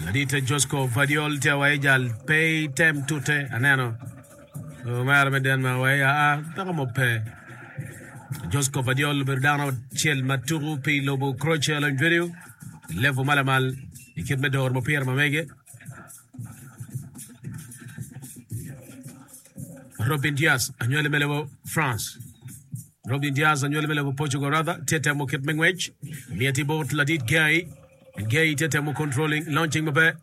Ladit Josko Gvardiol tye awaci jal pe item tute aneno omera me Denmark awaci aa peko mo pe. Josko Gvardiol obedo dano acel ma tuku pi lobo Croatia lony vedio level ma lamal i kit me doro mupira ma mege. Robin Dias anywali me lobo France. Robin Dias anywali me lobo Portugal rather tye temo kit me ngwec. Myeti bot ladit Gay. Gay tye temo controlling launching maber.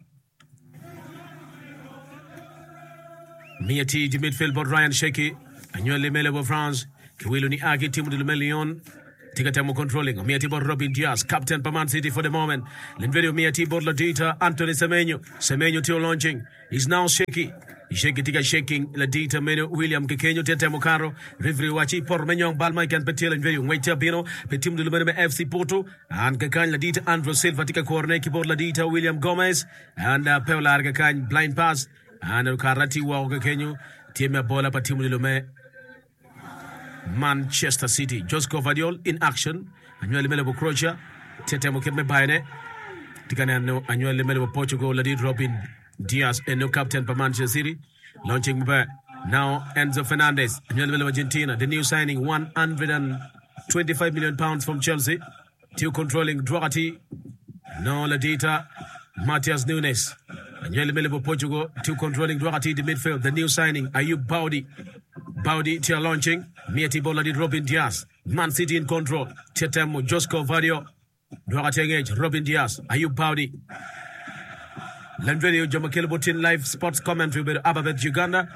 Myeti di midfield bot Ryan Sheki anywali me lobo France. Kiwilo ni a ki tim odilo me Lyon. Tye ka temo controlling omiyo atir bot Robin Dias, captain pa Man City for the moment. Lendvedi omiyo atir bot ladita Anthony Semenyo. Semenyo tye launching. Is now shaky. Shaky tye ka shaking ladita meno William Kekenyo tye temo kato. Referee owaci poto me nyong bal ma keken pe tye Lendvedi ongwec tye abino pi tim odilo meno me FC Porto. And kakany ladita Andre Silva tye ka korone ki bot ladita William Gomez. And uh, pe olare kakany blind pass. And okato atir woko kekenyo tye me abola pa tim odilo me Manchester City. Josko Gvardiol in action. Anywali me lobo Croatia tye temo kit me bayone. Tye ka neno anywali me lobo Portugal ladit Robin Dias eno captain pa Manchester City. Launching maber. Now Enzo Fernandez anywali me lobo Argentina the new signing 125 million pounds from Chelsea. Tye controlling dwoko atir nongo ladita Matheus Nunes anywali me lobo Portugal tye controlling dwoko atir di midfield the new signing Ayub Baudi Baudi tye launching miyo atir bot ladit Robin Dias Man City in control tye temo Josko Gvardiol dwoko atir angec Robin Dias Ayub Baudi Lem radio jo ma kelo bot tin live sports commentary obedo Ababet Uganda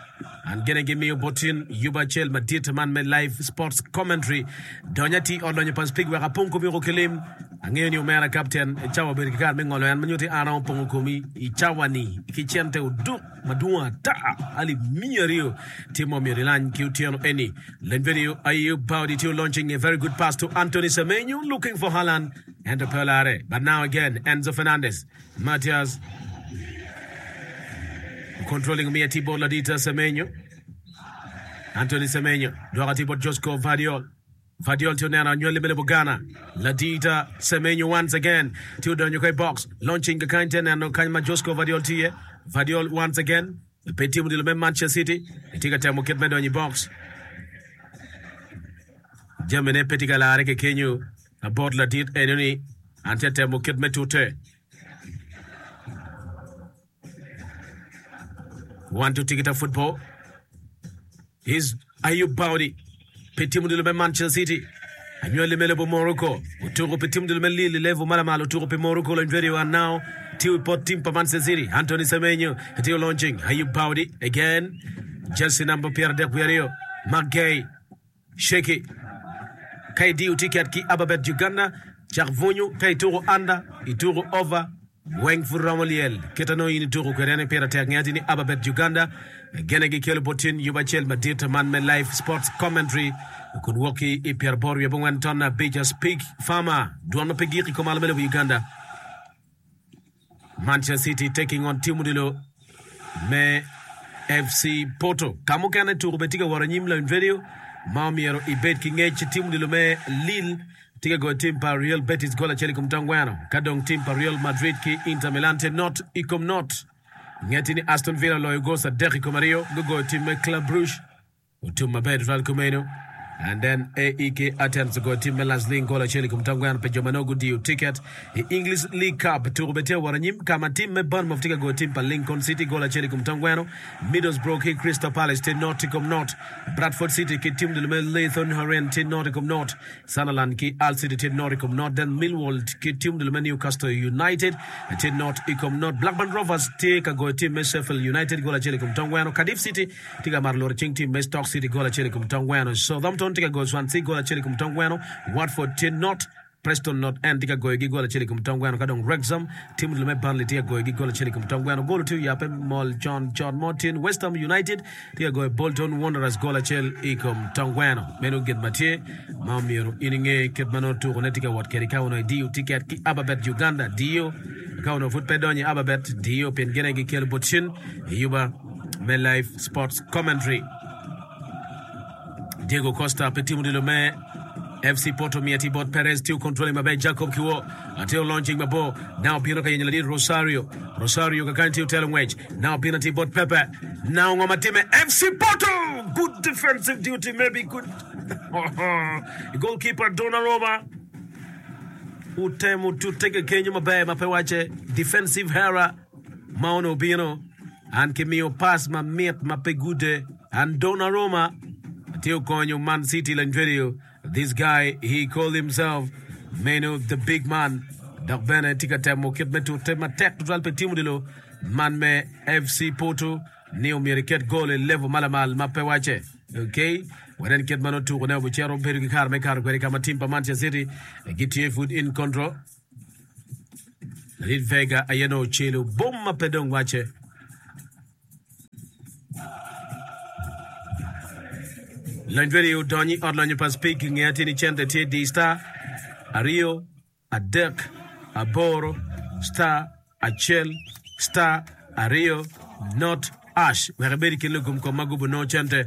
and gene gimiyo bot tin yub acel madit man me live sports commentary. Dony ati ot lonyo pa Speke wek apong komi woko ki lim. Angeyo ni omera kapten i cawa obedo ki kare me ngolo en ma nyuto ni an aromo pongo komi i cawa ni ki cente oduk madwong ata alip 200 tye ma omyero ilany ki otyeno eni. Lem radio Ayub Baudi tye launching a very good pass to Anthony Semenyo looking for Haaland ento pe olare but now again Enzo Fernandez Matias controlling omiyo atir bot ladit Semenyo. Anthony Semenyo dwoko atir bot Josko Gvardiol. Gvardiol tye oneno anywali me lobo Ghana. Ladit Semenyo once again tye odonyo ka i box. Launching kakany tye neno kany ma Josko Gvardiol tye iye. Gvardiol once again pe timo odilo me Manchester City. Tye ka temo kit me donyo i box. Jamine pe tye ka lare kekenyo bot ladit enoni. An tye atemo kit me tute. One to Tikita football. He's Ayub Baudi. Pi tim odilo me Manchester City. Anywali me lobo Morocco. Otuko pi tim odilo me Lille i level ma lamal. Otuko pi Morocco lony radio and now tye i pot tim pa Manchester City. Anthony Semenyo tye launching. Ayub Baudi again. Jersey number 32. Marc Guehi. Sheki, Ka idiyo tiket ki Ababet Uganda, cak bwunyu ka ituko under, ituko over, weng pud romo lyel. Kit anongo in ituko kwede ene pire tek. Nge atir ni Ababet Uganda gene gikelo bot tin yub acel madit man me live sports commentary kun wok ki i pyeraboro wiye abongwen ton abic Speak Farmer, dwon ma pe gik i kom alo me lobo Uganda. Manchester City taking on team odilo me FC Porto. Ka mukene tuko bene tye ka wot anyim lawiny radio ma omyero ibed ki ngec. Team odilo me Lille tye ka goyo team pa Real Betis gol acel i kom tongweno. Ka dong team pa Real Madrid ki Inter Milan tye not i kom not. Ngeti ni Aston Villa oloyo goals 3-2 gugoyo team me Club Brugge. Otum maber tutwal kumeno. And then AEK Athens ogoyo tim me Lasling gol acel i kom tongweno pi jo ma nongo gudiyo tiket i English League Cup. Tuko bene tye ka wot anyim ka ma tim me Bournemouth tye ka goyo tim pa Lincoln City gol acel i kom tongweno. Middlesbrough ki Crystal Palace tye not i kom not. Bradford City ki tim dul me Leyton Orient tye not i kom not. Sunderland ki Hull City tye not i kom not. Then Millwall ki tim dul me Newcastle United tye not i kom not. Blackburn Rovers tye ka goyo tim me Sheffield United gol acel i kom tongweno. Cardiff City tye ka mato loro cing tim me Stoke City gol acel i kom tong gweno. Southampton tye ka goyo Swansea gol acel i kom tong gweno. Watford tye not, Preston North End tye ka goyogi gol acel i kom tong gweno ka dong Wrexham tim odilo me Burnley tye ka goyogi gol acel i kom tong gweno. Gol tye oyabbe mol con con mo tin West Ham United tye ka goyo Bolton Wanderers gol acel i kom tong gweno. Meno gin ma tye ma omyero in inge kit ma nongo tukone tye ka wot kwede ka onongo idiyo tiket ki Ababet Uganda. Diyo ka onongo pud pe idonyo i Ababet, diyo pien gin aye gikelo bot cen i yuba. me Live Sports Commentary. Diego Costa pi tim odilo me. FC Porto miyo atir bot Perez tiyo controlling maber Jacob Kiwor tye launching mabor now obino ka yenyo ladit Rosario Rosario kakany tye otelo ngwec now obino atir bot Pepe now ngo ma time FC Porto good defensive duty maybe good goalkeeper Donnarumma otemo tute kekenyo maber ma pe wacce defensive error ma onongo obino An kimiyo pass mamit ma pe gude and Donnarumma tye okonyo Man City lanjweriyo this guy he call himself meno the big man dok bene tye ka temo kit me tute matek tutwal pi tim odilo man me FC Porto ni omyero iket goal i level ma lamal ma pe wacce. Ok, wanen kit ma nongo tukone obicito bedo ki kare me kato kwede ka ma tim pa Manchester City gitye pud in control. Ladit Vega aye nongo ocelo bom ma pe dong wacce. Lony radio odonyo i ot lonyo pa Speke nge atir ni cente tye di star aryo adek aboro star acel star aryo not Ash wek ibed i kin lugum kom ma gubo nongo cente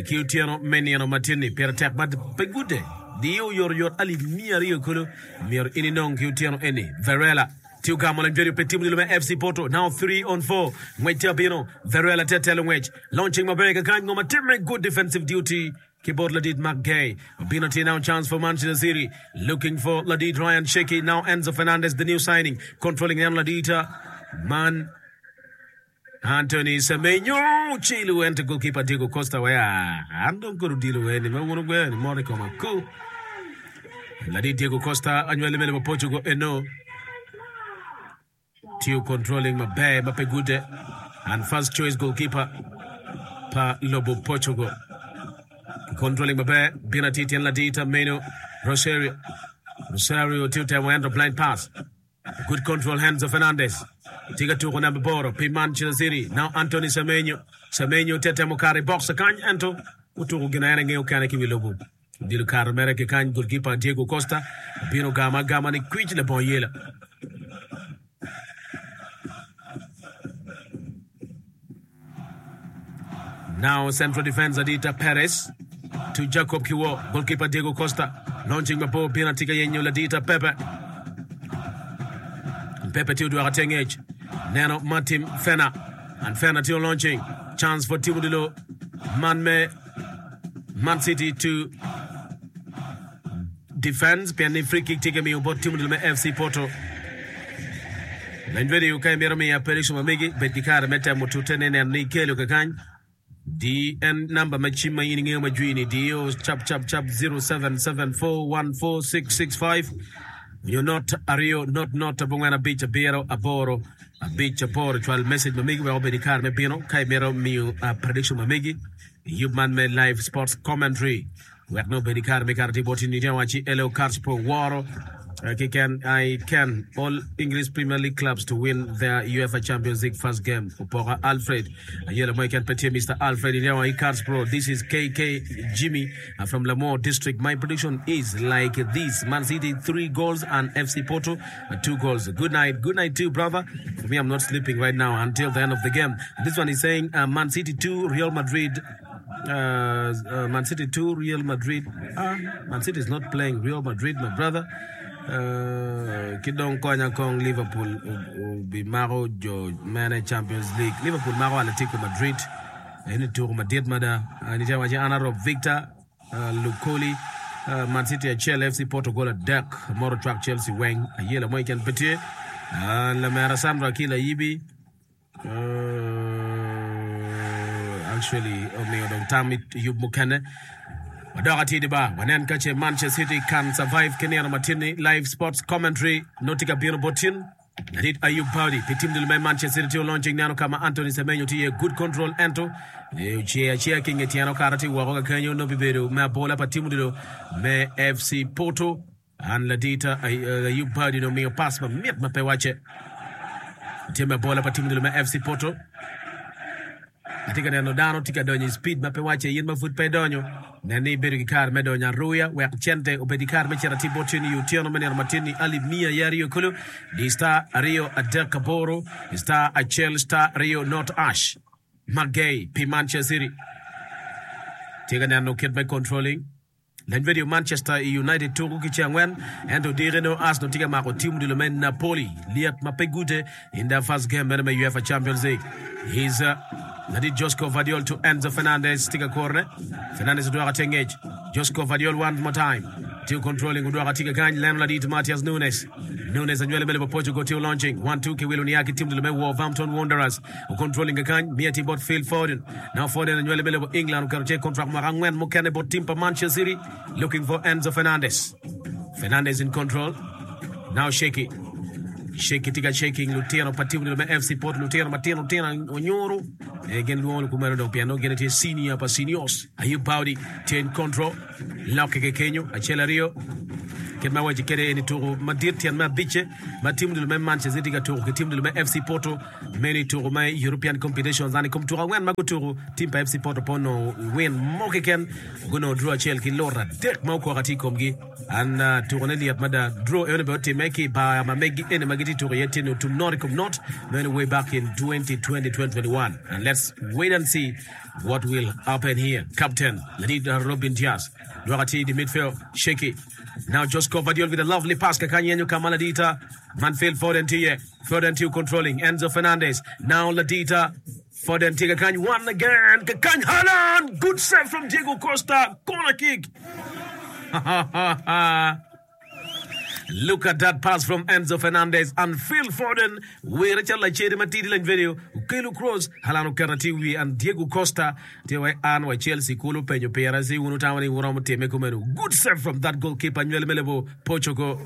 ki otyeno me nino ma tin-ni. Pire tek ma pe gude diyo oyotoyot alip miya aryo kulu myero in inong ki otyeno eni. Varela tye ogamo lanywedo pe timo dilo me FC Porto now 3 on 4 ngwec tye abino. Varela tye atelo ngwec launching maber kakany ngo ma timme good defensive duty ki bot ladit Marc Guehi obino tye now chance for Manchester City looking for ladit Ryan Cherki now Enzo Fernandez the new signing controlling neno ladit man Anthony Semenyo ocelo ento goalkeeper Diego Costa waya an dong kod odilo weni ma wun wugweyo ni mot i koma ku. Ladit Diego Costa anywali me lobo Portugal eno tiyo controlling maber ma pe gude and first choice goalkeeper pa lobo Portugal. Controlling maber bino atir tyen ladit meno Rosario. Rosario tiyo temo ento blind pass. Good control Enzo Fernandez tye ka tuko namba aboro pi Manchester City. Now Anthony Semenyo. Semenyo tye temo kato i box kany ento otuko gin en engeyo kene ki wi lobo. Odilo kato mere ki kany goalkeeper Diego Costa obino ogamo agama ni kwic labongo yela. Now central defense Adita Perez to Jacob Kiwo, goalkeeper Diego Costa launching mabor bino tye ka yenyo Ladita Pepe. Pepe tye odwoko tye ngec neno Martin Fena and Fena tye launching chance for Timo Dilo man me Man City to Defense pien ni free kick tye ka miyo bot tim odilo me FC Porto. Leny radio ka imito miya prediction ma megi, bed ki kare me temo tute ne neno ni ikelo kakany. Di en namba me cim ma in ingeyo ma jwi ni diyo cap cap cap 0774146665 nyo not aryo not not abongwen abic abiro aboro abic aboro. Cwal message ma megi wek obed ki kare me bino ka imito miyo prediction ma megi i yub man me live sports commentary. Wek nongo obed i kare me kato tye bot in wacci Elo Carspro woro keken I can all English Premier League clubs to win their UEFA Champions League first game Opoka Alfred Ayela mo keken pe tye Mister Alfred in I Carspro this is KK Jimmy from Lamore District my prediction is like this Man City 3 goals and FC Porto 2 goals good night good night too brother for me I'm not sleeping right now until the end of the game this one is saying uh, Man City 2 Real Madrid Man City 2 Real Madrid ah, Man City is not playing Real Madrid my brother uh, ki dong konya kong Liverpool obimako jo mene Champions League Liverpool mako Atletico Madrid eni tuko madit mada uh, nitie waci an Rob Victor uh, Lukoli uh, Man City acel FC Porto gol adek moro cwak Chelsea weng ayela mo keken pe tye uh, lamera Sandra Akila Ayibi Actually omiyo dong tam i yub mukene. Wadok atidi ba, wanen ka ce Manchester City can survive ki nino matin-ni. Live sports commentary nongo tye ka bino bot tin. Ladit Ayub Paudi pi tim dul me Manchester City tye launching neno ka ma Anthony Semenyo tye iye good control ento ocer acea ki nge tyene okato tye woko ka kenyo nongo bibedo me abola pa tim odilo me FC Porto. An ladita Ayub Badi omiyo pass mamit ma pe wacce. Tye me abola pa tim odilo me FC Porto. Atye ka neno dano tye ka donyo i speed ma pe wacce. In ma pud pe idonyo, nen ni ibedo ki kare me donyo aruya wek cente obed ki kare me cito atir bot tyeni i otyeno me nino matin-ni alip miya aye aryo kulu di star aryo adek aboro star acel star aryo not ash. Magey pi Manchester City tye ka neno kit me controlling. Lany Radio Manchester United tuku ki ceng angwen ento odiki nongo Arsenal tye ka mako tim odilo me Napoli lyet ma pe gute in their first game meno me UEFA Champions League. His ladit Josko Gvardiol to Enzo Fernandez tye ka kurone. Fernandez odwoko atir ngec. Josko Gvardiol one more time tye controlling odwoko atir kakany leno ladit Matheus Nunes. Nunes anywali me lobo Portugal tye launching 1-2 ki wilo nia ki tim odilo me Wolverhampton Wanderers. Okontroling kakany, miye atir bot Phil Foden. Now Foden anywali me lobo England oketo ce kontrak mwaka angwen mukene bot tim pa Manchester City looking for Enzo Fernandez. Fernandez in control. Now Sheki. Sheki tye ka shaking lutino pa tim me FC Porto lutino matino tino onyuru. Eh, gin lwongo kumeno dong pien nongo gin tye senior pa seniors. Ayub Baudi tye in control. Lokke ki kenyo acel aryo. Kit ma awaci kede eni tuku madit tyen me abicce ma tim dul me Manchester City ka tuku ki tim dul me FC Porto. Meno i tuku me European Competitions and i kom tuku angwen ma gutuku, tim pa FC Porto pe onongo win mo keken. Gunongo draw acel ki lut adek ma okwako atir i komgi. And tukune lyet mada. Draw eno bene otimme ki i bar ma megi eni ma gitye tuku iye tye-ni otum not i kom not. Meno way back in 2020-2021. And let's wait and see what will happen here. Captain ladit Robin Dias dwoko atir i di midfield. Shaky. Now Josko Gvardiol with a lovely pass kakany yenyo ka ma ladita man Phil Foden tye iye. Foden tye controlling Enzo Fernandez. Now ladita Foden tye kakany one again kakany Haaland! Good save from Diego Costa. Corner kick. Look at that pass from Enzo Fernandez and Phil Foden wire calo lacede matidi lany video okelo cross Haaland oketo atir wiye and Diego Costa tye wai an wa Chelsea kulu openyo pira ci wun wutamo ni wuromo time kumeno good save from that goalkeeper nywele me lobo Portugal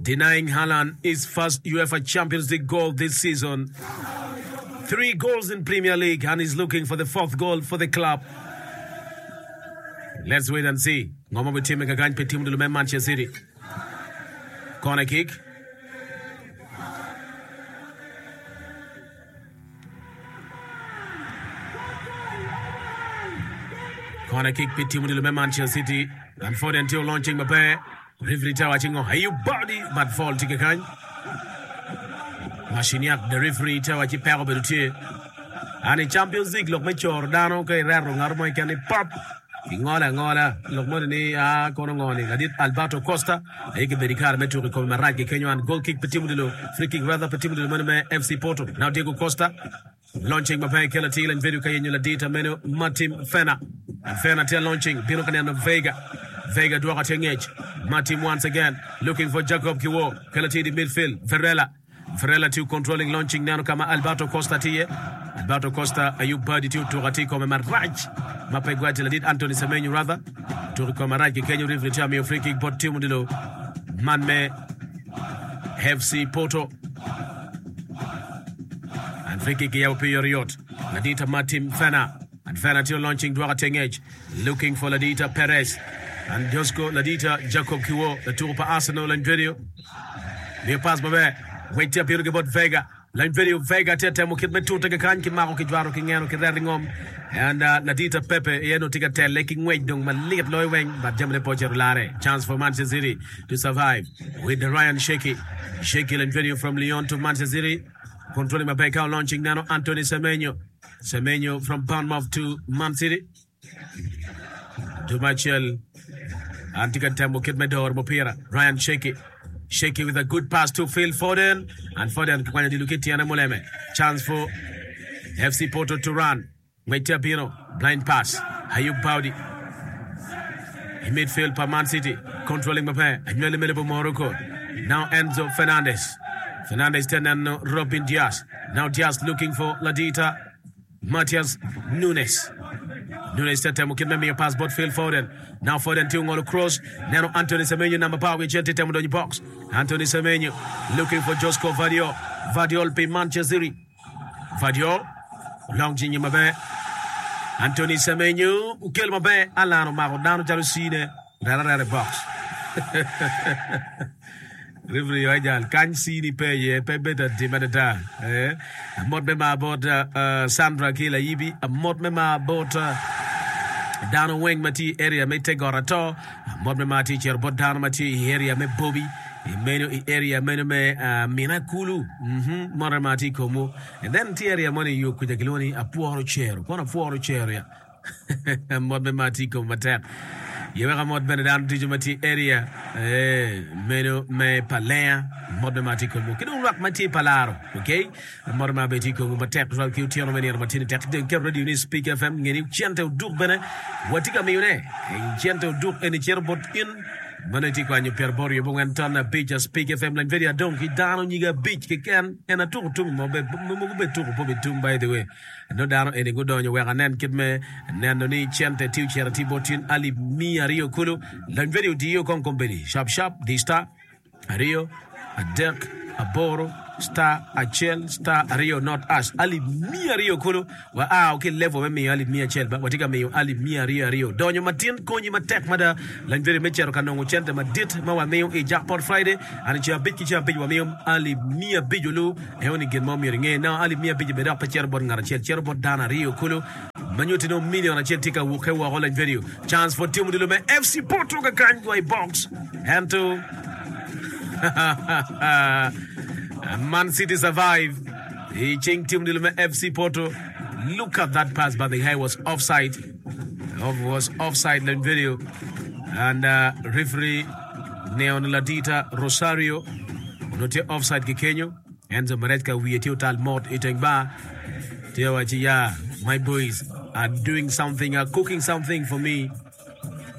denying Haaland his first UEFA Champions League goal this season 3 goals in Premier League and he's looking for the fourth goal for the club Let's wait and see ngo ma bitimme kakany pi tim dul me Manchester City. Corner kick. Corner kick pi tim dul me Manchester City. And Foden tye launching maber. Referee tye waco ngo? Are you body? But foul tye kakany. Marciniak the referee tye waco peko obedo tye. And i Champions League lok me coro dano ka ireto ngat mo keken ni pop kingolo angola lok moni ni a kono ngo ni ladit Alberto Costa aye kibedo i kare me tuko i kome marac ki kenyo and goal kick pe timo dilo free kick rather pe timo dilo meno me FC Porto now Diego Costa launching maber kelo atir lany vedio ka yenyo ladit meno Martin Fena and Fena tye launching bino ka neno Veiga Veiga dwoko atir ngec Martin once again looking for Jacob Kiwor kelo atir di midfield Varela Varela tye controlling launching neno ka ma Alberto Costa tye iye. Alberto Costa Ayub Badi tye otuko atir i kome marac ma pe gwaci ladit Anthony Semenyo rather otuko i kome marac ki kenyo referee tye amiyo free kick bot tim odilo man me FC Porto. And free kick kiyabo pi yotoyot ladit Martin Fena. And Fena tye launching dwoko atir ngec looking for ladita Perez and Josko ladita Jacob Kiwo latuko pa Arsenal Andredio. Miyo pass maber. Ngwec tye apiro ki bot Vega. Lany video Vega tye temo kit me tute kakany ki mako ki jwaro ki ngeno ki reto i ngom. And uh, ladita Pepe iye no tye ka tele ki ngwec dong malit loyo weng but jamine pe ocito lare. Chance for Manchester City to survive with Ryan Sheki. Sheki lany video from Lyon to Manchester City. Controlling maber ka launching neno Anthony Semenyo. Semenyo from Bournemouth to Man City. Dwe acel an tye ka temo kit me doro mupira. Ryan Sheki. Sheki with a good pass to Phil Foden. And Foden kikwanyo odilo ki tyene muleme. Chance for FC Porto to run. Ngwec tye abino. Blind pass. Ayub Baudi. I midfield pa Man City. Controlling maber. Anywali me lobo Morocco. Now Enzo Fernandez. Fernandez tye neno Robin Dias. Now Dias looking for Ladita. Matheus Nunes. Nunes tye temo kit me miyo pass bot Phil Foden. Now Foden tye ongolo cross. Neno Anthony Semenyo namba apar wiye acel tye temo donyo i box. Anthony Semenyo looking for Josko Gvardiol. Gvardiol pi Manchester City. Gvardiol olong cinge maber. Anthony Semenyo okelo maber. Alan omako dano calo cine. Reta areta i box. Referee owaco jal kany cini pe iye pe bedo atim adada. Eh, amot me mar bot uh, Sandra ki Layibi, amot me mar bot uh, dano weng ma tye i area me te got ato, amot me mar tye cito bot dano ma tye i area me Bobi, i meno i area meno me uh, Mina Kulu, mm -hmm, mot me mar tye i komwu. And then tye area moni i yo kuca kilwongo ni Apworo Cero, kono Apworo Cero ya. Mot me mar tye i kom matek. Ye wek amot bene dano ducu ma tye i area meno me Palenga, mot me mar tye i komwu ki dong lwak ma tye i Palaro. Okay? Mot me mar bene tye i komwu matek tutwal ki otyeno me nino ma tye-ni tek dong iketo radio ni Speak FM nge ni cente oduk bene watye ka miyone. Cente oduk eni cito bot in ma nongo itye kwanyo pyeraboro yubongwen ton abic a Speak FM lany video adong ki dano nyige abic keken en atuko tum mo mogo bene tuko pe obitum by the way. Nongo dano eni gudonyo wek anen kit me neno ni cente tye ocito atir bot tin alip miya aryo kulu. Lony vedio odiyo kong kombeddi. Shap shap di star aryo adek aboro star acel star aryo not ash alip miya aryo kulu. Wa ao ki level me miyo alip miya acel ba watye ka miyo alip miya aryo aryo. Donyo matin konyi matek mada. Lony vedio me cito ka nongo cente madit ma wamiyo i Jackpot Friday. An i ceng abic ki ceng abic wamiyo alip miya abic olu. Ento ni gin mo myero inge, nongo alip miya abic bene dok pe cito bot ngat acel, cito bot dano aryo kulu, ma nyutti nongo million acel tye ka wukke woko lany vedio. Chance for timo odilo me FC Porto kakany wa i box. Ento Man City survive i cing tim odilo me FC Porto. Look at that pass but the guy was offside. Was offside lany vedio and uh, referee Neon Ladita Rosario onongo tye offside ki kenyo. Enzo Maresca wiye tye otal mot i teng bar. Tye wacci ya, my boys are doing something, are cooking something for me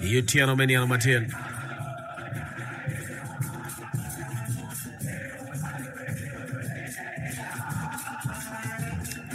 i otyeno me nino matin.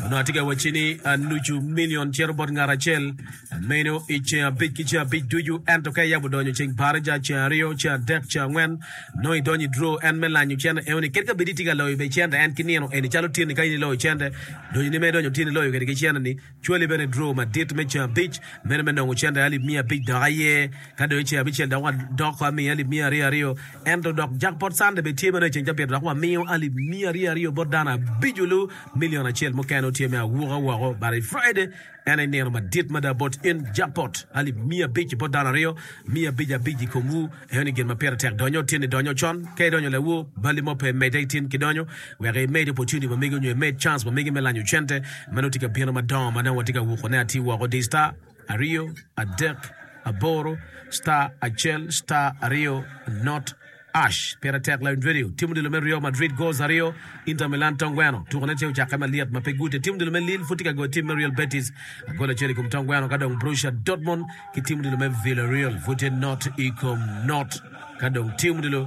Onongo atye ka wacci ni nucu milion cito bot ngat acel. Meno i ceng abic ki ceng abic ducu, ento ka iyabo donyo ceng baraja, ceng aryo, ceng adek, ceng angwen, nongo idonyo i draw en me lanyo cente enoni. Kadi ka bed itye ka loyo bene cente en ki nino eni calo tyeni ka in iloyo cente, donyoni ma idonyo tyeni iloyo kwede ki cente ni, cwali bene i draw madit me ceng abic, meno me nongo cente alip miya abic dok aye. Ka dong i ceng abicel dok wadoko amiyo alip miya aryo aryo, ento dok jackpot Sunday bene tye meno i ceng cabit dok wamiyo alip miya aryo aryo bot dano abic olu, million acel mukene tye me awuka woko but i Friday En aye nino madit mada bot in, Jackpot alip 500 bot dano aryo, 500 abic i komwu. Enoni gin ma pire tek. Donyo tin idonyo con. Ka idonyo lawor, balli mo pe. Medde itin ki donyo wek imed opportunity ma megi onyo imed chance ma megi me lanyo cente ma nongo tye ka bino madongo ma nongo watye ka wukone atir woko. Di star aryo adek aboro star acel star aryo not. Ash pire tek lawiny radio. Tim odilo me Real Madrid goals aryo, Inter Milan tong gweno. Tukone tye ocakke malyet ma pe gute. Tim odilo me Lille pud tye ka goyo tim me Real Betis gol acel i kom tong gweno ka dong Borussia Dortmund ki tim odilo me Villarreal pud tye not i kom not ka dong tim odilo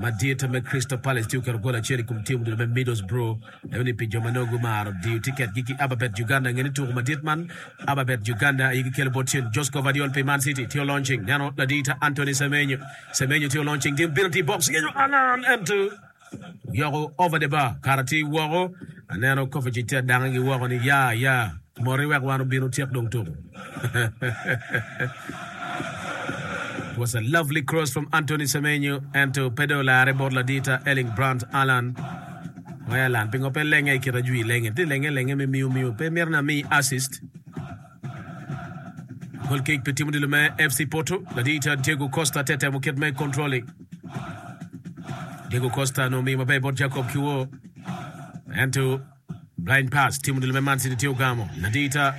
madit me Crystal Palace tye oketo gol acel i kom tim odilo me Middlesbrough. Eno ni pi jo ma nongo gumaro diyo tiketgi ki Ababet Uganda nge ni tuko madit man Ababet Uganda aye gikelo bot cen. Josko Gvardiol pi Man City tye olaunching neno ladita Anthony Semenyo. Semenyo tye olaunching tim penalty i box yenyo Alan ento yoko over the bar kara tye woko. Aneno Kovacic tye adange gi woko ni ya ya moti wek wan obin otyek dong tuko. It was a lovely cross from Anthony Semenyo ento pe dong olare bot ladita Erling Brandt Alan. Wai Alan pingo pe lenge i kit ajwi lenge tye lenge lenge me miu miu pe mito ni ami assist. Gol kick pi tim odilo me FC Porto. Ladita Diego Costa te temo kit me controlling. Diego Costa no miyo maber bot Jacob Kiwo. Ento blind pass tim odilo me Man City tye ogamo. Ladita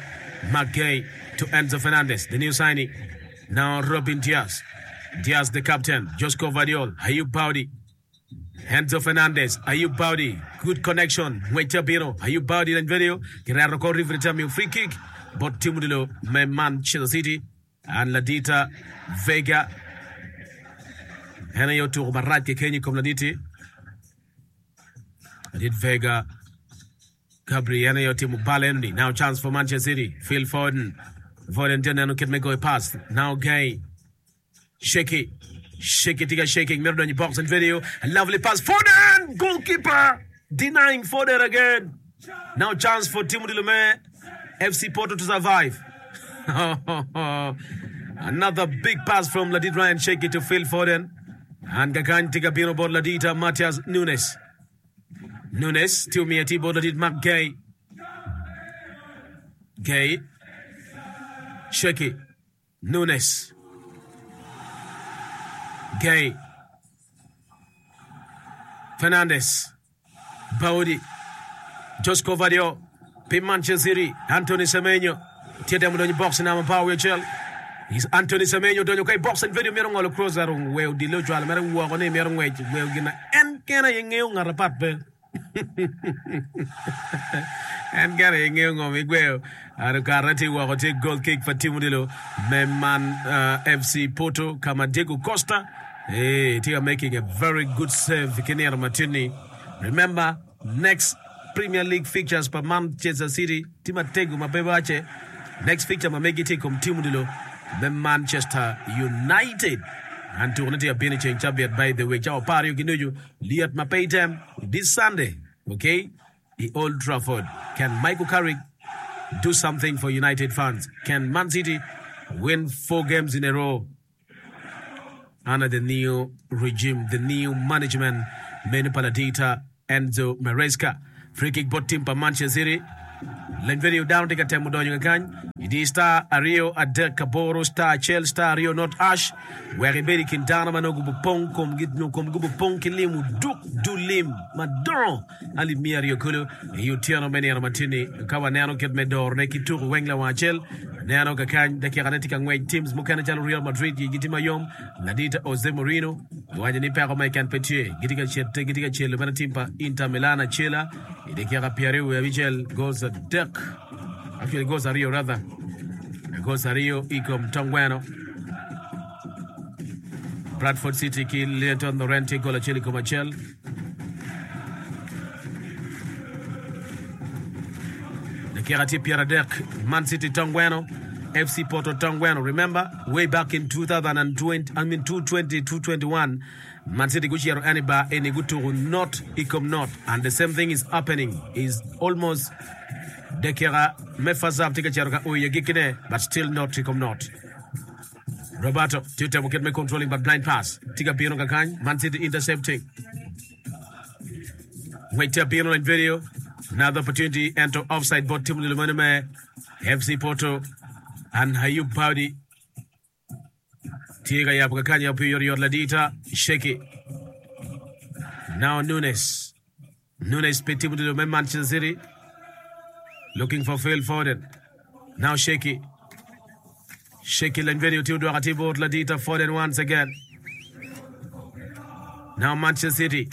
Marc Guehi to Enzo Fernandez, the new signing. Now Robin Dias. Dias the captain. Josko Gvardiol, Ayub Boudy. Enzo Fernandez, Ayub Boudy, good connection, ngwec tye abino, Ayub Boudy lany vedio, kireto kor referee tye amiyo free kick bot tim odilo me Manchester City and ladita Vega en aye otuko marac keken i kom laditi ladit Vega Gabri en aye otimo bal eno ni now chance for Manchester City Phil Foden Foden tye neno kit me goyo pass now Guehi Shaky, shaky tye ka shaking mito donyo i box and video a lovely pass Foden goalkeeper denying Foden again now chance for team odilo me FC Porto to survive another big pass from Ladit Ryan Shaky to Phil Foden and kakany tye ka bino bot Ladita Matheus Nunes Nunes tye omiyo atir bot Ladit Marc Guehi Guehi Shaky Nunes, Guehi, Fernandes, Baudi, Josko Gvardiol pi Manchester City, Anthony Semenyo tye temo donyo i box namba apar wiye acel. Is Anthony Semenyo odonyo ka i box and video mito ngolo cross ento weyo odilo ocwalo mere woko ni mito ngwec weyo gin na en kene aye ngeyo ngat apat pe. En kene aye ngeyo ngo ma igweyo. Ento karene tye woko tye goal kick pa team odilo me Man FC Porto ka ma Diego Costa eh, tye ka making a very good save ki nino matin-ni. Remember next Premier League fixtures pa Manchester City tye matego ma pe wacce. Next fixture ma megi tye i kom team odilo me Manchester United. And tukone tye ka bino i ceng cabit by the way cawa 12 ki nucu lyet ma pe item this Sunday okay i Old Trafford. Can Michael Carrick do something for United fans? Can Man City win 4 games in a row? Under the new regime, the new management meno pa ladita Enzo Maresca. Free kick bot team pa Manchester City. Leny video dano tye ka temo donyo kakany. Idi star aryo adek aboro star acel star aryo not ash wek ibed i kin dano ma nongo gubopong komgi nyo komgi gubopong ki lim oduk dul lim madongo alip miya aryo kulu i otyeno me nino matin-ni. Ka waneno kit me dorone ki tuko weng lawang acel, neno kakany dakikane tye ka ngwec. Teams mukene calo Real Madrid igi tye mayom. Ladit Jose Mourinho owaco ni peko mo keken pe tye. Gitye ka cete, gitye ka celo bene tim pa Inter Milan acela i dakika 26 goals adek, actually goals aryo rather, goals aryo i kom tongweno. Bradford City ki Leyton Orient tye gol acel i kom acel. Dakika tye 30, Man City tongweno, FC Porto tongweno. Remember, way back in 2020, I mean 2020, 2021, Man City gucito en i bar eni gutuku not i kom not and the same thing is happening is almost dakika me first half tye ka cito ka oyo agikkine but still not i kom not. Roberto tye temo kit me controlling but blind pass tye ka bino kakany Man City intercepting. Ngwec tye abino lany video another opportunity ento offside bot tim odilo meno me FC Porto and Ayub Paudi tye ka yabo kakany yabo pi oyotoyot ladita Sheki now Nunes Nunes pe timo odilo me Manchester City looking for Phil Foden now Sheki Sheki lany video tye odwoko atir bot ladita Foden once again now Manchester City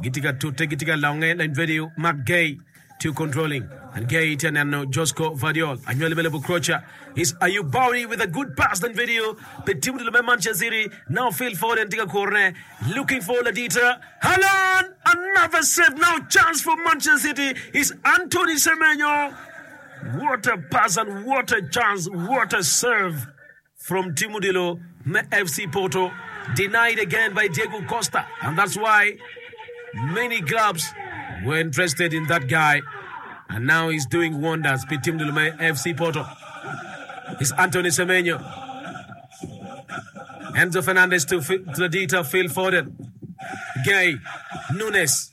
gitye ka tute gitye ka longe lany video Mark Gay tye controlling and Gay tye neno Josko Gvardiol anywali me lobo Croatia is Ayub Bowry with a good pass lany video pe timo odilo me Manchester City now Phil Foden tye ka kurone looking for ladita Haaland another save now chance for Manchester City is Anthony Semenyo what a pass and what a chance what a save from Tim Odilo me FC Porto denied again by Diego Costa and that's why many clubs were interested in that guy and now he's doing wonders pi Tim Odilo me FC Porto is Anthony Semenyo Enzo Fernandez to Ladita Phil Foden Gay Nunes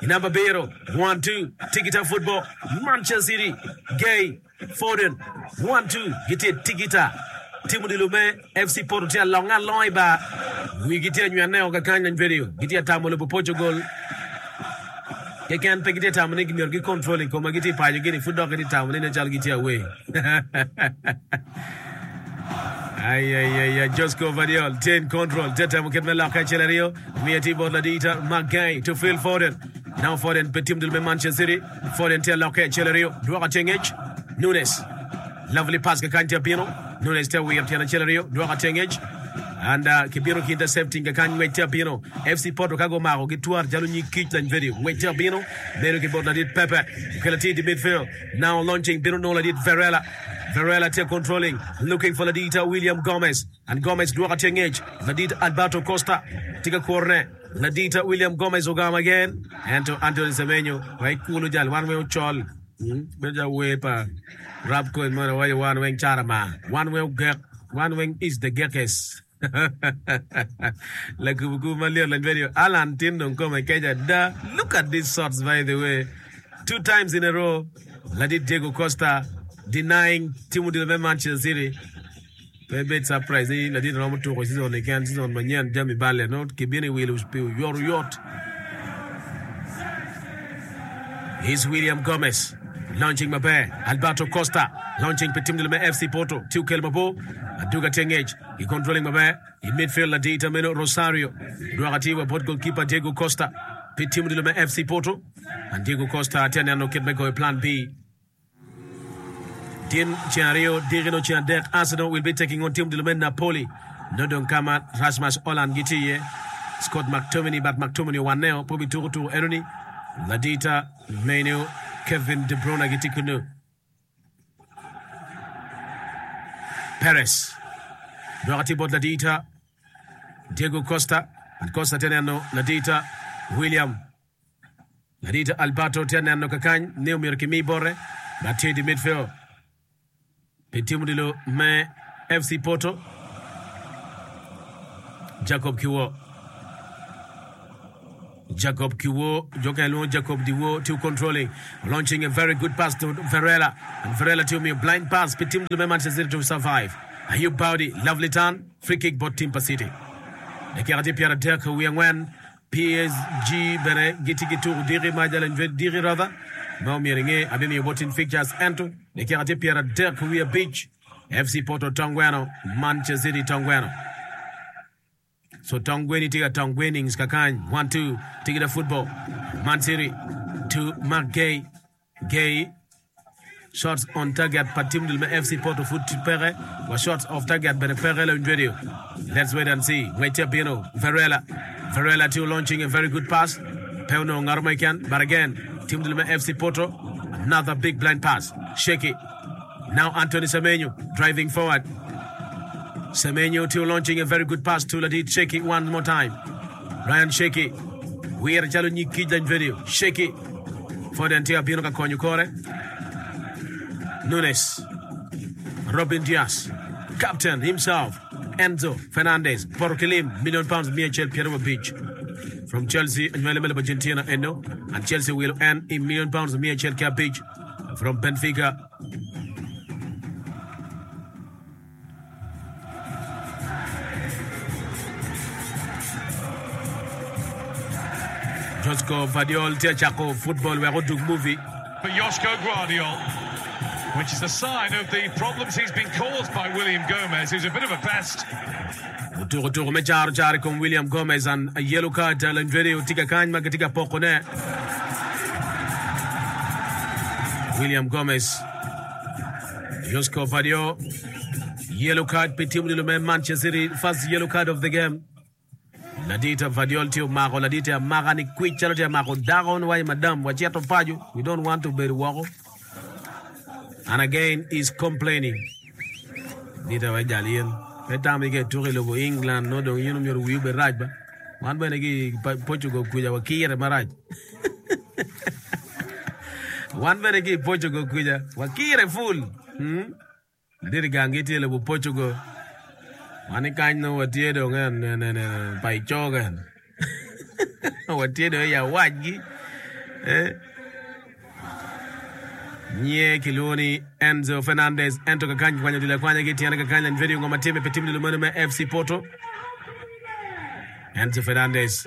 i namba abiro 1 2 Tigita football Manchester City Gay Foden 1 2 gitye Tigita tim odilo me FC Porto tye alonge alonga i bar wigi tye anywene o kakany lany video gitye atamo lobo Portugal keken pe gitye tamo ni myero gi control i koma gitye i paco gini pud dok gitye tamo ni nen calo gitye away Ayayaya, Josko Gvardiol tye in control, tye temo kit me lokke acel aryo, miyo tye bot ladita Marc Guehi to Phil Foden. Now Foden pe tim dul me Manchester City. Foden tye lokke acel aryo, dwoko tye ngec. Nunes, lovely pass kakany tye abino. Nunes tye wiro tyen acel aryo, dwoko tye ngec. And uh, kibino ki intercepting kakany ngwec tye abino. FC Porto ka gumako gitwar calo nyig kic lany video. Ngwec tye abino, bedo ki bot ladit Pepe. Okelo tye i midfield. Now launching bino nongo ladit Varela. Varela tye controlling, looking for ladit William Gomez. And Gomez dwoko tye ngec. Ladit Alberto Costa tye ka kurone. Ladit William Gomez ogamo again. Ento Anthony Semenyo wek kulu jal wan weng ocol. Hmm? Bedo calo wer pa rap coin moni waco wan weng carama. Wan weng ogek. Wan weng is the gekes. Lakubukubu malyet lany bedo Alan tin dong kome kec ada. Look at these shots by the way. Two times in a row, ladit Diego Costa denying tim odilo me Manchester City. Pe ibed surprise ni ladit romo tuko season ni ken season manyen jami balle no kibino i wilo pi oyot oyot. Here's William Gomez launching maber. Alberto Costa launching pi tim odilo me FC Porto. Tye okelo mabor. Aduga tye ngec i controlling maber i midfield ladita meno Rosario dwoko atir wa bot goalkeeper Diego Costa pi tim odilo me FC Porto and Diego Costa tye neno kit me goyo plan B. Tin ceng aryo diki nongo ceng adek Arsenal will be taking on tim odilo me Napoli nongo dong ka ma Rasmus Hojlund gitye iye Scott McTominay but McTominay owaneo pe obituko tuko enoni ladita meno Kevin De Bruyne gitye kunu. Perez dok tye bot ladita Diego Costa and Costa tye neno ladita William ladita Alberto tye neno kakany ni omyero kimi bote ma tye di midfield pi tim odilo me FC Porto Jacob Kiwo Jacob Kiwo, jo kene lwongo Jacob Diwo, tye controlling, launching a very good pass to Varela, and Varela tye omiyo blind pass pi team me Manchester City to survive. Ayub Bowdy, lovely turn, free kick bot team pa City. Dakika tye 34 PSG bene gitye ki tuko diki ma jalo diki rather ma omyero inge abimiyo bot team fixtures ento dakika tye 35 FC Porto tongweno Manchester City tongweno. So tong gweni tye ka tong gwenings kakany. 1-2 Tigida football. Man City to Mark Gay. Gay shots on target pa team dul me FC Porto pud peke wa shots off target bene peke lawiny radio. Let's wait and see. Ngwec tye abino. Varela. Varela tye launching a very good pass. Pe onongo ngat mo keken but again team dul me FC Porto another big blind pass. Shaky. Now Anthony Semenyo driving forward. Semenyo tye launching a very good pass to Ladit Sheki one more time. Ryan Sheki wire calo nyig kic lany video. Sheki Foden tye abino ka konyo kore. Nunes Robin Dias captain himself Enzo Fernandez poto ki lim million pounds 175 from Chelsea anywali me lobo Argentina eno and Chelsea wilo en i million pounds 105 From Benfica. Josko Gvardiol tye ka cako futbol wek odug movie. For Josko Gvardiol, which is a sign of the problems he's been caused by William Gomez, who's a bit of a pest. Otuko tuko me caro caro i kom William Gomez and a yellow card Landredio tye ka kany ma kitye ka pokone. William Gomez Josko Gvardiol yellow card pi tim odilo me Manchester City first yellow card of the game. Ladit Gvardiol tye omako ladite amaka ni kwic calo tye amako dako ni waci madam wacito paco we don't want to bedo woko and again is complaining. Ladite wa jal in pe tam ni ka ituko i lobo England nongo dong in omyero wii obed rac ba wan bene ki i Portugal kuca wakire marac wan bene ki i Portugal kuca wakire full hmm? Ladit i ganggi tye i lobo Portugal. Wan i kany nongo watye dong pa i cogen. Watye dong i awacgi. Eh? Nyiye kilwongo ni Enzo Fernandez ento kakany kikwanyo odilo akwanya ki i tyene kakany lany vedio ngo ma timme pi tim odilo meno me FC Porto. Enzo Fernandez.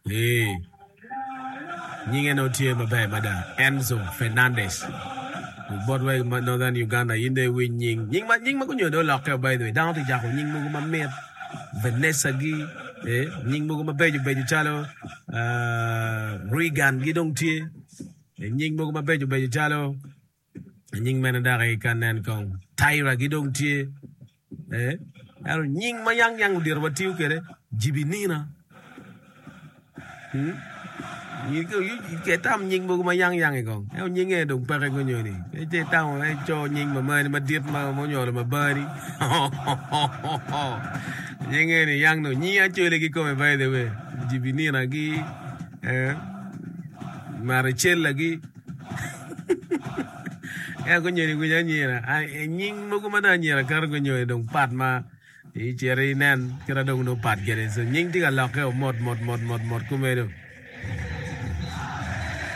Eh. Nyinge nongo tye maber mada, Enzo Fernandez. Bot wa i Northern Uganda in dong iwiny nying. Nying ma nying ma gunyo dong olokke by the way. Dano tye cako nying mogo mamit, Vanessa gi, eh, nying mogo mabeco beco calo uh, Regan gi dong tye. Eh, nying mogo mabeco beco calo nying mene dok ka nen kong Tyra gi dong tye. Eh, ento nying ma yang yang odiro watiyo kwede Jibinina. Hmm? Itam nying mogo ma yang yang i kong. Ento nyinge dong peke gunyoni. Ece itamo eco nying mamani madit ma onyolo mabani. Nyinge ni yang no nying acole kikome by the way. Jibinina gi eh, Maricella gi. Ento gunyoni winyo anyira. Nying mogo ma dong anyira kato gunyoni dong pat ma icito inen kit dong nongo pat kwede. So nying tye ka lokke o mot mot mot mot mot kumeno.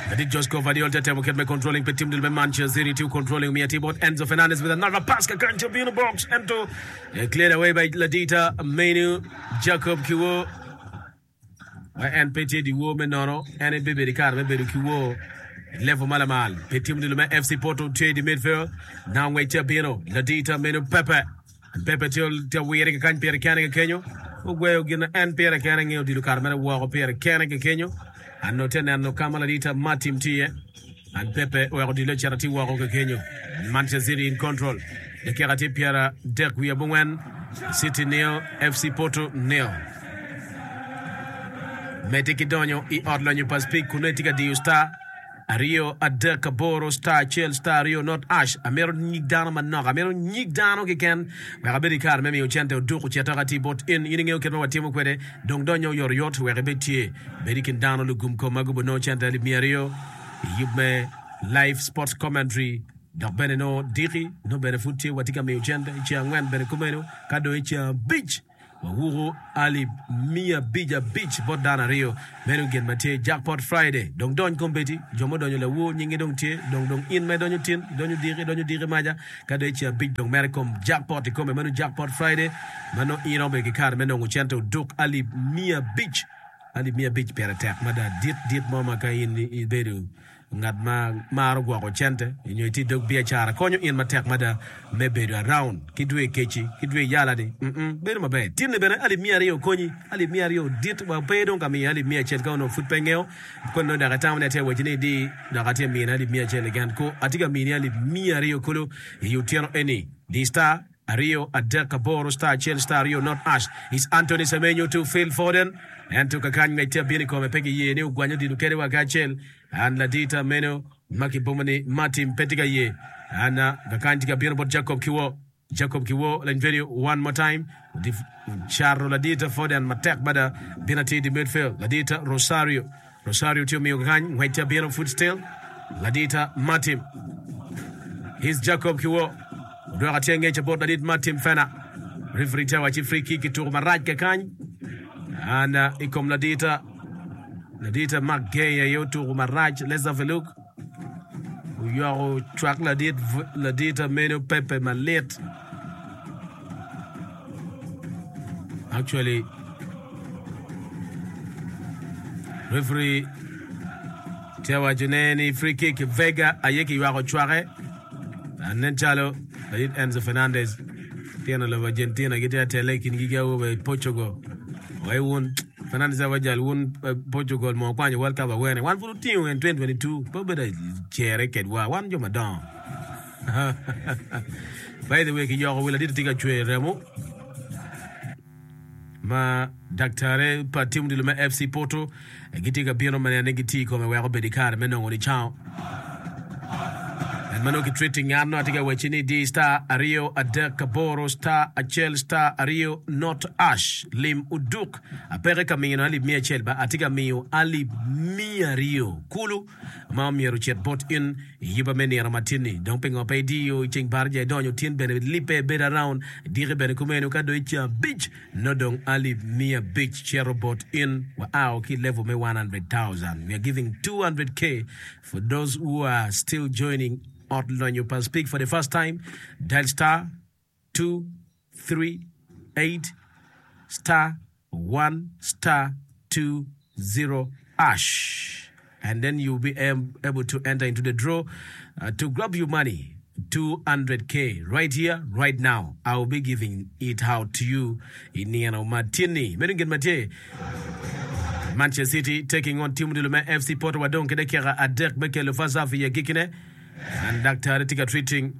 Ladit Josko Gvardiol tye temo kit me controlling pi tim dul me Manchester City tye controlling omiyo atir bot Enzo Fernandez with another pass kakany tye obino box ento cleared away by ladita Menu Jacob Kiwo. Ma en pe tye dyewor me nono, en aye bibedo i kare me bedo ki wor i level ma lamal. Pi tim odilo me FC Porto tye i di midfield, now ngwec tye abino, ladita meno Pepe. Pepe tye ka wire kikany pire kene kekenyo. Ogweyo gin ma en pire kene ngeyo odilo kare mere woko pire kene kekenyo. An tye neno ka ma ladita Martin tye iye. An Pepe oweko odilo ocito atir woko kekenyo. Manchester City in control. Dakika tye pyeradek wiye abongwen. City nil, FC Porto nil. Medde ki donyo i ot lonyo pa Speke kun nongo itye ka diyo star. Aryo, adek, aboro, star acel, star aryo, not ash. Amito nyig dano manok. Amito nyig dano keken wek abed ki kare me miyo cente oduk ocit aka ati bot in. In ingeyo kit ma watimo kwede. Dong donyo oyotoyot wek ibed tye. Bed i kin dano lugum kom ma gubo nongo cente alip 200 i yub me Live Sports Commentary. Dok bene nongo diki nongo bene pud tye watye ka miyo cente i ceng angwen bene kumeno ka dong i ceng abic. Wawuko alip 500 bot dano aryo. Meno gin ma tye Jackpot Friday. Dong dony kombeddi. Jo ma odonyo lawor nyingi dong tye. Dong dong in ma idonyo tin, idonyo diki, idonyo diki maca, ka dong i ceng abic dong mere kom jackpot ikome. Meno Jackpot Friday ma nongo in iromo bedo ki kare me nongo cente oduk alip 500. Alip 500 pire tek mada. Dit dit mo ma ka in ibedo Ngat ma maro gwoko cente nyo itye i dog biacara konyo in matek mada me bedo around ki dwe keci ki dwe yala ni mm bedo maber. Tinni bene alip 200 konyi, alip 200 dit wa pe dong ka miyo alip 100 ka onongo pud pe ingeyo koni nongo dok itamo ni atye ka waci ni idi dok atye ka mini alip 100 keken ku atye ka mini alip 200 kulu i otyeno eni di star Aryo adek aboro star acel star aryo not ash is Anthony Semenyo to Phil Foden ento kakany ngec tye abino i kome pe giye ni ogwany odilo kede wa kacel an ladita meno ma kibomo ni Martin pe tye ka ye an kakany tye ka bino bot Jacob Kiwo Jacob Kiwo lany video one more time cato ladita Foden matek mada bino atir di midfield ladita Rosario Rosario tye omiyo kakany ngwec tye abino pud still ladita Martin His Jacob Kiwo odwoko atir ngec bot ladit Martin Fena referee tye wacci free kick kituko marac kakany and i kom ladita ladita Mark Gay aye otuko marac let's have a look oyoko cwak ladit ladita meno Pepe malit Actually, referee tye waco ne ni free kick Vega aye kiywako cwake. Nen calo ladit Enzo Fernandez tyen lobo Argentina gitye ka tele i kingi ki awobe i Portugal. Wai wun Fernandez aye jal wun Portugal mo kwanyo World Cup awene. Wan pud otingo en 2022 pe obedo cere kedwa wan jo madongo. By the way, kiyoko wi ladit tye ka cwer remo ma daktare pa tim odilo me FC Porto gitye ka bino me neno ni gitye i kome wek obed i kare me nongo nicango. En ma nongo ki treating ngat no atye ka wacci ni di star aryo adek aboro star acel star aryo not ash lim oduk apeke ka mino alip 100 ba atye ka miyo alip 200 kulu ma omyero ocit bot in i yubba me nino matin-ni. Dong pingo pe idiyo i ceng baraja idonyo tin bene libbe bedo around diki bene kumeno ka dong i ceng abic nongo dong alip 500 cito bot in wa ao ki level me 100,000. We are giving 200k for those who are still joining Ot Lonyo pa Speak for the first time. Dial star 2 3 8 star 1 star 2 0 ash and then you will be able to enter into the draw uh, to grab your money 200k right here right now I will be giving it out to you i nino ma tye-ni meno gin ma tye Manchester City taking on team odilo me FC Porto wadong ki dakika adek me kelo first half i agikkine and daktari tye ka treating.